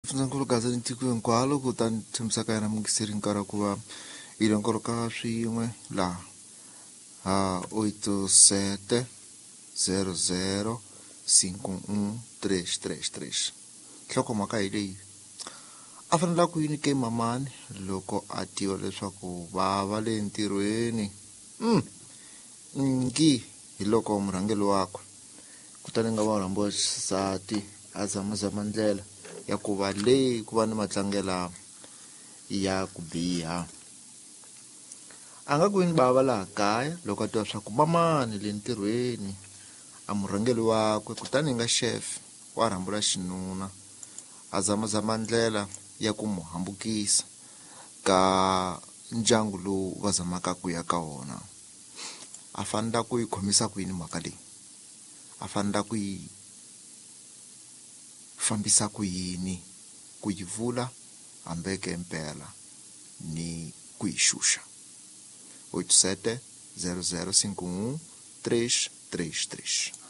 Fundzankulu Gaza ni tiko hinkwalo kutani tshembisaka yena mungiseri nkarhi wa ku va hi longoloka swin'we laha ha 87 00 51 333. Nhlokomhaka hi leyi: a fanele ku yini ke mamani loko a tiva leswaku va va le ntirhweni ngi hi loko murhangeri wakwe kutani nga va rhambiwa xisati a zamazama ndlela ya ku va leyi ku va ni matlangela ya ku biha. A nga ku yini bava laha kaya loko a tiva swa ku mamani le ntirhweni a murhangeri wakwe kutani nga chef wa rhambula xinuna a zamazama ndlela ya ku mu hambukisa ka ndyangu lowu va zamaka ku ya ka wona. A fanela ku yi khomisa ku yini mhaka leyi? A fanela ku yi fambisa ku yini? Ku yi vula hambeke mpela ni ku yi xuxa. 87 00 51 333.